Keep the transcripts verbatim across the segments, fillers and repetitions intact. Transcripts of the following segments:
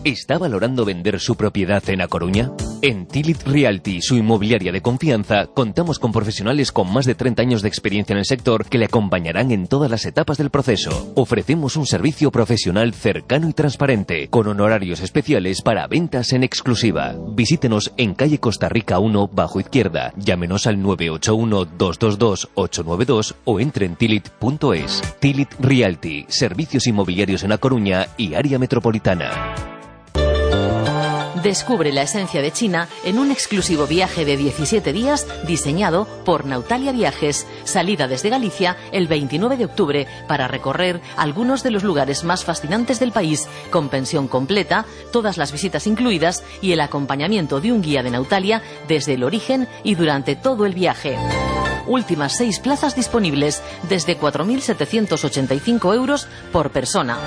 ¿Está valorando vender su propiedad en A Coruña? En Tilit Realty, su inmobiliaria de confianza, contamos con profesionales con más de treinta años de experiencia en el sector que le acompañarán en todas las etapas del proceso. Ofrecemos un servicio profesional cercano y transparente, con honorarios especiales para ventas en exclusiva. Visítenos en calle Costa Rica uno, bajo izquierda. Llámenos al nueve ocho uno, dos dos dos, ocho nueve dos o entre en tilit punto es. Tilit Realty, servicios inmobiliarios en A Coruña y área metropolitana. Descubre la esencia de China en un exclusivo viaje de diecisiete días diseñado por Nautalia Viajes. Salida desde Galicia el veintinueve de octubre para recorrer algunos de los lugares más fascinantes del país, con pensión completa, todas las visitas incluidas y el acompañamiento de un guía de Nautalia desde el origen y durante todo el viaje. Últimas seis plazas disponibles desde cuatro mil setecientos ochenta y cinco euros por persona.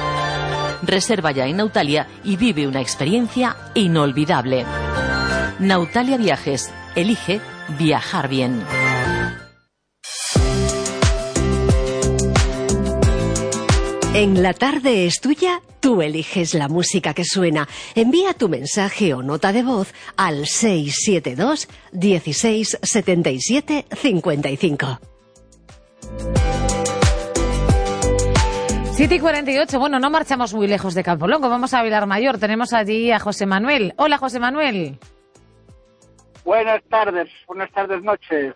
Reserva ya en Nautalia y vive una experiencia inolvidable. Nautalia Viajes. Elige viajar bien. En La Tarde es Tuya, tú eliges la música que suena. Envía tu mensaje o nota de voz al seis siete dos, dieciséis, setenta y siete, cincuenta y cinco. siete y cuarenta y ocho, bueno, no marchamos muy lejos de Campolongo, vamos a Vilar Mayor, tenemos allí a José Manuel. Hola, José Manuel. Buenas tardes, buenas tardes, noches.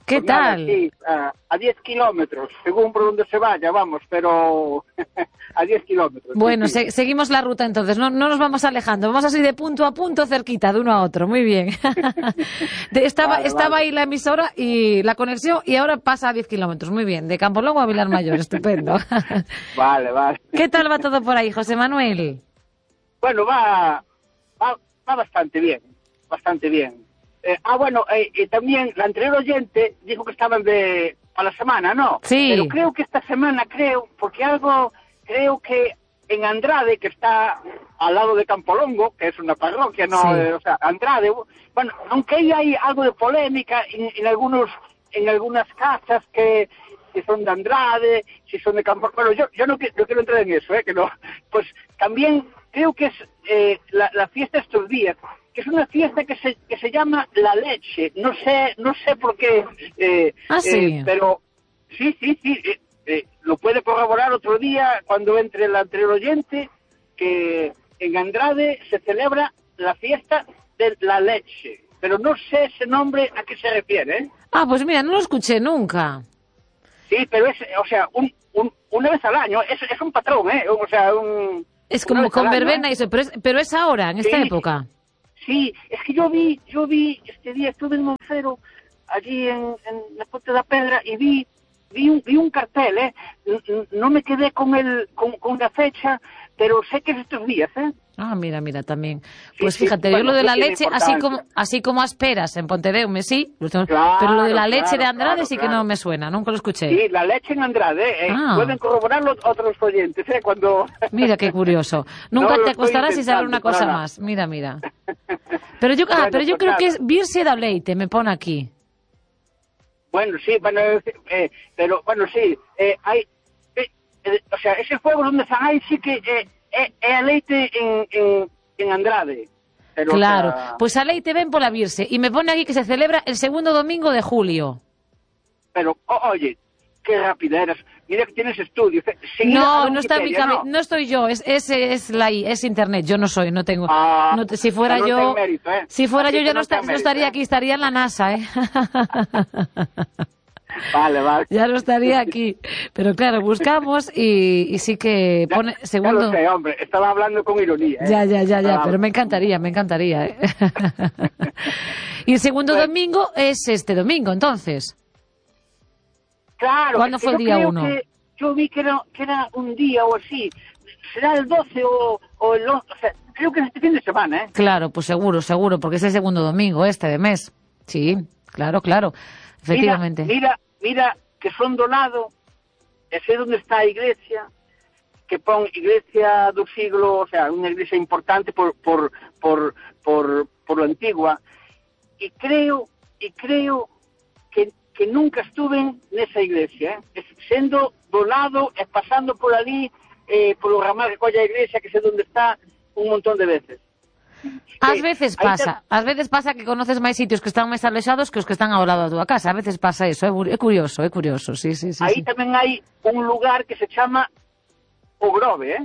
¿Qué pues nada, tal? Sí, a, a diez kilómetros, según por donde se vaya, vamos, pero a diez kilómetros. Bueno, sí, se, sí. seguimos la ruta entonces, no, no nos vamos alejando, vamos así de punto a punto, cerquita, de uno a otro, muy bien. de, estaba Vale, estaba vale. ahí la emisora y la conexión y ahora pasa a diez kilómetros, muy bien, de Campolongo a Vilar Mayor, estupendo. Vale, vale. ¿Qué tal va todo por ahí, José Manuel? Bueno, va, va, va bastante bien, bastante bien. Eh, ah, bueno, eh, eh, también la anterior oyente dijo que estaban de a la semana, ¿no? Sí. Pero creo que esta semana, creo, porque algo, creo que en Andrade, que está al lado de Campolongo, que es una parroquia, ¿no? Sí. Eh, o sea, Andrade, bueno, aunque ahí hay algo de polémica en, en algunos, en algunas casas que, si son de Andrade, si son de Campolongo, bueno, yo, yo no, qui- no quiero entrar en eso, ¿eh? Que no, pues también creo que es eh, la, la fiesta estos días, que es una fiesta que se que se llama La Leche, no sé no sé por qué, eh, Ah, sí. eh, pero sí, sí, sí, eh, eh, lo puede corroborar otro día cuando entre el anterior oyente, que en Andrade se celebra la fiesta de La Leche, pero no sé ese nombre a qué se refiere, ¿eh? Ah, pues mira, no lo escuché nunca. Sí, pero es, o sea, un, un, una vez al año, es, es un patrón, ¿eh? O sea, un... Es una como vez al con año, verbena ¿eh? y eso, pero es, pero es ahora, en esta Sí. época. Sí, es que yo vi, yo vi, este día estuve en Moncero, allí en, en la Ponte da Pedra, y vi, vi un, vi un cartel, ¿eh? N- n- No me quedé con el, con, con la fecha, pero sé que es estos días, ¿eh? Ah, mira, mira, también. Sí, Pues sí, fíjate, bueno, yo lo de no la tiene leche, así importancia. como así como asperas en Pontedeume, sí, lo tengo- Claro, pero lo de la leche claro, de Andrade claro, sí que claro. no me suena, nunca lo escuché. Sí, la leche en Andrade, ¿eh? Ah. Pueden corroborarlo otros oyentes, ¿eh? Cuando... Mira qué curioso. Nunca No lo te estoy acostarás sin saber una inventando, cosa para nada. más. Mira, mira. Pero yo, ah, Bueno, pero yo pues creo que nada. es Birse da Leite, me pone aquí. Bueno, sí, bueno, eh, pero bueno, sí, eh, hay, eh, eh, o sea, ese juego donde están ahí sí que eh, eh, é a leite en, en, en Andrade. Pero, Claro, o sea, pues a Leite ven por la Birse y me pone aquí que se celebra el segundo domingo de julio. pero, o- oye, qué rapideras. Mira que tienes estudios. eh, seguida a No, la no está en mi Wikipedia, cabeza, ¿no? no estoy yo, es es, es la I, es internet, yo no soy, no tengo. Ah, no te- si fuera no yo, ten mérito, ¿eh? si fuera Así yo que ya no, no esta- ten no estaría mérito, aquí, ¿eh? estaría en la NASA, ¿eh? Vale, vale. Ya no estaría aquí. Pero claro, buscamos y, y sí que Ya- pone ya segundo. lo sé, hombre, estaba hablando con ironía. ¿eh? Ya, ya, ya, ya, Estaba- pero me encantaría, me encantaría. ¿eh? Y el segundo Bueno. domingo es este domingo, entonces. Claro. ¿Cuándo es que fue el yo día creo uno? que- yo vi que era, que era un día o así. Será el doce o, o el once. O sea, creo que es este fin de semana, ¿eh? Claro, pues seguro, seguro, porque es el segundo domingo este de mes. Sí, claro, claro, efectivamente. Mira, mira, mira que son do lado, e sei onde está a iglesia, que pon iglesia do siglo, o sea, unha iglesia importante por por por por por lo antigua, e creo e creo que que nunca estuve nesa iglesia, eh? Sendo do lado e pasando por ali, eh, polo ramal que colla a iglesia, que sei onde está, un montón de veces. Ás veces Aí pasa, ás veces pasa que conoces máis sitios que están máis alexados que os que están ao lado da túa casa. A veces pasa eso, é, é curioso, é curioso, sí, sí, sí. Aí sí. tamén hai un lugar que se chama O Grove, eh?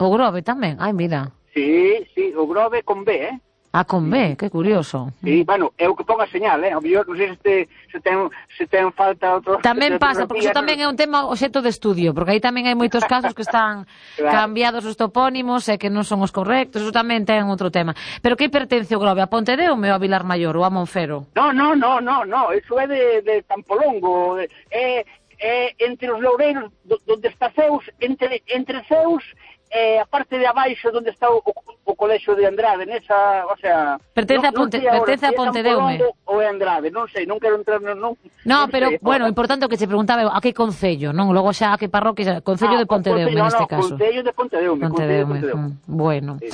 O Grove tamén, ai, mira. Sí, sí, O Grove con B, eh? Ah, con B, que curioso. Sí, bueno, é o que ponga señal, eh? O mellor, non sei se, te, se, ten, se ten falta outro... Tamén pasa, porque iso tamén é un tema obxecto de estudio, porque aí tamén hai moitos casos que están Claro. cambiados os topónimos e que non son os correctos, iso tamén ten outro tema. Pero que pertence o Grove? A Pontedeume ou a Vilar Maior ou a Monfero? No, no, no, no, no, eso é de, de Campolongo, é, é entre os loureiros do, donde está Zeus, entre, entre Zeus e a parte de abaixo donde está o, o, o colexio de Andrade, nesa, o sea... Pertence a Ponte- pertence a Pontedeume. Ou é Andrade, non sei, non quero entrar... Non, non, No, non pero, sei, bueno, ahora. importante o que se preguntaba a que concello, non? Logo xa a que parroquia, concello Ah, de Pontedeume, no, neste no, caso. Concello de Pontedeume, Concello de Pontedeume, Pontedeume. mm, bueno. Sí.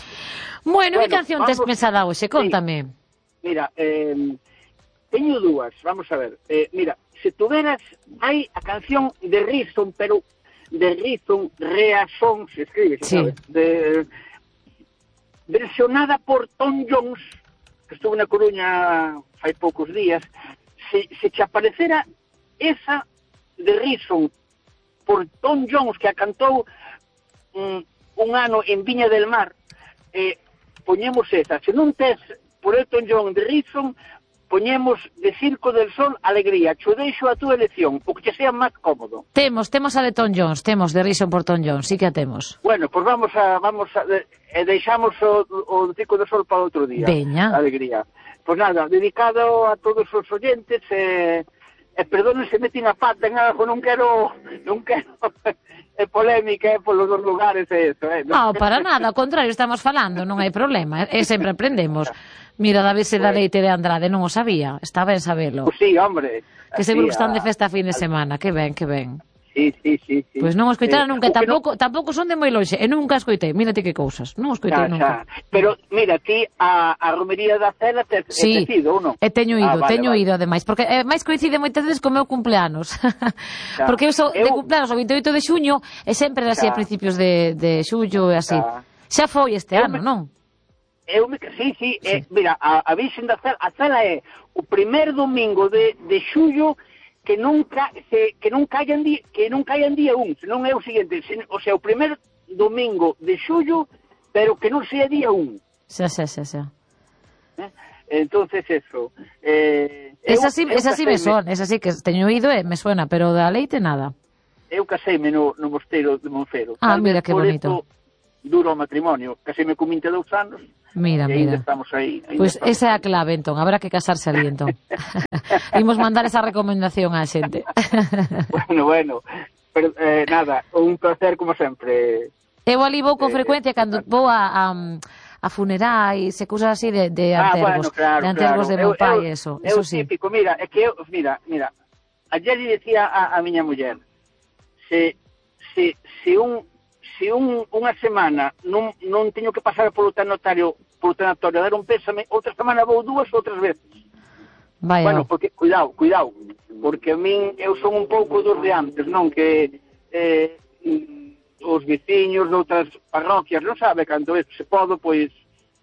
Bueno, que Bueno, canción tes vamos- pensada hoxe? Contame. Mira, eh, teño dúas, vamos a ver. Eh, mira, se tuveras, hai a canción de Reason, pero de Reason, Reason, se escribe, Sí. sabes? De, versionada por Tom Jones, que estuvo na Coruña fai poucos días. Se, se te aparecera esa de Reason por Tom Jones, que a cantou mm, un ano en Viña del Mar, eh, poñemos esa. Se non tes por Elton John de Reason, poñemos de Circo del Sol Alegría. Cho deixo a túa elección, o que te sea máis cómodo. Temos, temos a de Tom Jones, temos de Rison por Tom Jones, sí que a temos. Bueno, pois pues vamos a vamos a e deixamos o, o Circo del Sol para outro día. Veña. Alegría. Pois pues nada, dedicado a todos os oyentes e e perdonen se metin a pata en algo, non quero non quero é polémica é polos dos lugares e eso, eh. Non, para nada, ao contrario, estamos falando, non hai problema, e sempre aprendemos. Mira, da vez da leite de Andrade, non o sabía, está ben sabelo. Pues sí, hombre. Que seguro que Así, están de a- festa a fin de semana, que ben, que ben. Sí, sí, sí, sí. Pois non o escoitara Eh, nunca, o que tampouco, tampouco son de moi longe, e nunca escoitei, mírate que cousas, non o non- escoitei xa, nunca. xa. Pero, mira, ti a, a romería da Cela te, Sí, te ido, ou non? e teño ido, Ah, vale, teño vale. ido ademais, porque é máis coincide moitas veces co meu cumpleanos. Porque eu sou de Eu- cumpleanos o veintioito de xuño e sempre era así a Xa. principios de, de xullo e así. Xa. Xa foi este Eu ano, me- non? Eu me, sí, sí, eh, mira, a, a Virxen da Cela, a Cela é o primer domingo de, de xullo que nunca se, que non caian día, que non caian día un, senón é o seguinte, sen, o sea, o primer domingo de xullo, pero que non sea día un. Xa, xa, xa, xa. ¿eh? Entonces eso. Eh, eu- Esa sí, eu esa sí me caseime- son, esa sí que teño ido e me suena, pero da leite nada. Eu caseime no, no mosteiro de Monfero. Ah, Tal mira vez que por bonito. eso duro o matrimonio. Caseime con vinte e dous anos. Mira, e mira. ainda estamos aí. ainda Pois estamos esa é a clave, entón, habrá que casarse ali, entón. Imos mandar esa recomendación á xente. Bueno, bueno, pero eh, nada, un placer como sempre. Eu ali vou con Eh, frecuencia cando vou a, a, a funerais e cousas así de, de Ah, antergos, bueno, claro, de antergos claro. de meu Eu- pai, eu- eso, eu eso sí. típico, mira, é que eu, mira, mira, ayer lle decía a, a miña muller, se, se, se un, se un, unha semana non, non teño que pasar polo tanatorio, polo tanatorio a dar un pésame, outra semana vou dúas outras veces. Vaya, Bueno, porque, cuidado, cuidado, porque a min, eu son un pouco dos de antes, non? Que eh, mm, os veciños de outras parroquias, non sabe canto é, se podo, pois,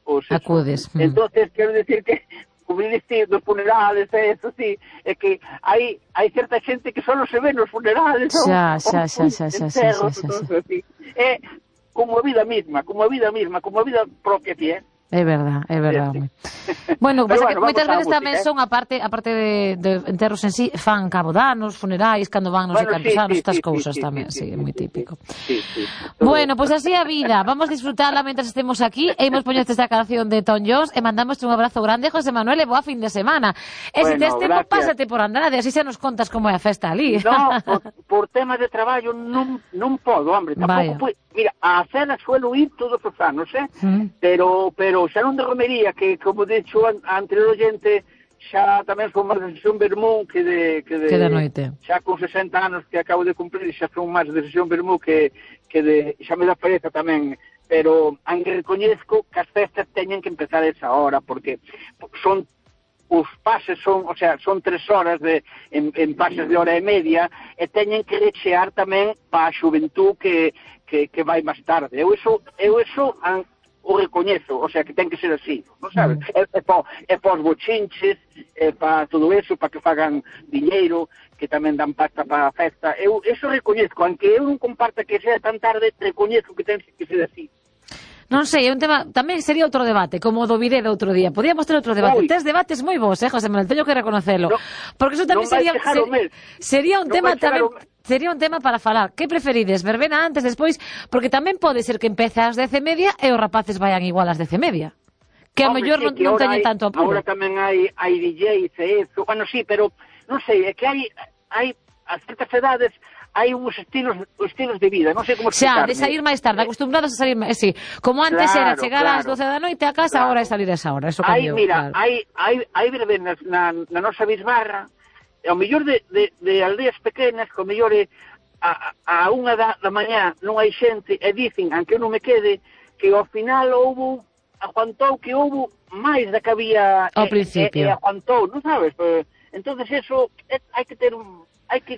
os eso. Acudes, mm. Entonces, quero decir que, como dicir, dos funerales, e eso, sí, é que hai, hai certa xente que só se ve nos funerales, non? Xa, xa, xa, xa, xa, xa, Enterros, xa, xa, xa. entonces, sí. É como a vida misma, como a vida misma, como a vida propia que é. É verdad, é verdad. Sí, home. Bueno, Pero pasa bueno, que vamos moitas á veces música, tamén eh. son, aparte aparte de, de enterros en sí, fan cabodanos, funerais, cando van non sei Bueno, cantos sí, anos, sí, estas sí, cousas sí, tamén, sí, sí, é sí, moi sí, típico. Sí, sí. Todo Bueno, pois pues así a vida, vamos disfrutarla mentras estemos aquí, e imos poñerte esta canción de Tom Jones, e mandamos un abrazo grande, José Manuel, e boa fin de semana. E se Bueno, tes tempo, gracias. pásate por Andrade, así xa nos contas como é a festa ali. No, por, por temas de traballo non, non podo, hombre, Vaya. tampouco pue... Mira, a Cela suelo ir todos os anos, eh? Mm. Pero, pero xa non de romería, que como dixo a, a anterior oyente, xa tamén son máis de sesión vermú que de... Que de, Que de noite. Xa con sesenta anos que acabo de cumplir, xa son máis de sesión vermú que, que de... Xa me dá pereza tamén, pero aunque recoñezco que as festas teñen que empezar a esa hora, porque son os pases son, o sea, son tres horas de, en, en pases de hora e media, e teñen que rechear tamén para a xuventú que, que, que vai máis tarde. Eu eso, eu eso an, o recoñezo, o sea, que ten que ser así, non sabes? Mm. É, é para é pa os bochinches, é para todo eso, para que fagan diñeiro, que tamén dan pasta para a festa. Eu eso recoñezo, aunque eu non comparta que sea tan tarde, recoñezo que ten que ser así. Non sei, é un tema, tamén sería outro debate, como o do bidé do outro día. Podíamos ter outro debate. Ui. Tes debates moi vos, eh, José Manuel, teño que reconocelo. No, porque eso tamén sería ser, sería un no tema tamén sería un tema para falar. Que preferides, verbena antes, despois, porque tamén pode ser que empece ás dez e media e os rapaces vayan igual ás dez e media. Que a mellor non, non teñen tanto apuro. Agora tamén hai hai D Js e eso. Bueno, sí, pero non sei, é que hai hai a certas edades hai uns estilos estilos de vida, non sei como explicarme. Xa, de salir máis tarde, acostumbrados a salir máis, sí. Como antes claro, era chegar claro. ás doce da noite a casa, claro. Agora é salir a esa hora, eso cambiou. Hai, mira, claro. hai hai hai verbenas na na nosa bisbarra, e ao mellor de, de, de aldeas pequenas, co mellor é a, a unha da, da mañá non hai xente, e dicen, aunque eu non me quede, que ao final houbo, aguantou que houbo máis da que había ao e, principio. E, e aguantou, non sabes? Pues, entonces eso, é, hai que ter un...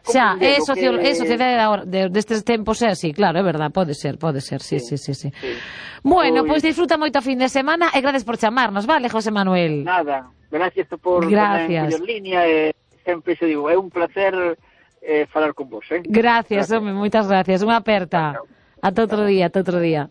Xa, é socio, que... sociedade de, destes tempos é así, claro, é verdad, pode ser, pode ser, sí, sí, sí, sí. sí. Bueno, pois pues, disfruta moito a fin de semana e gracias por chamarnos, vale, José Manuel? Nada, gracias por gracias. poner en línea e sempre se digo, é un placer eh, falar con vos, eh? Gracias, gracias. Home, moitas gracias, unha aperta. Ata outro día, ata outro día.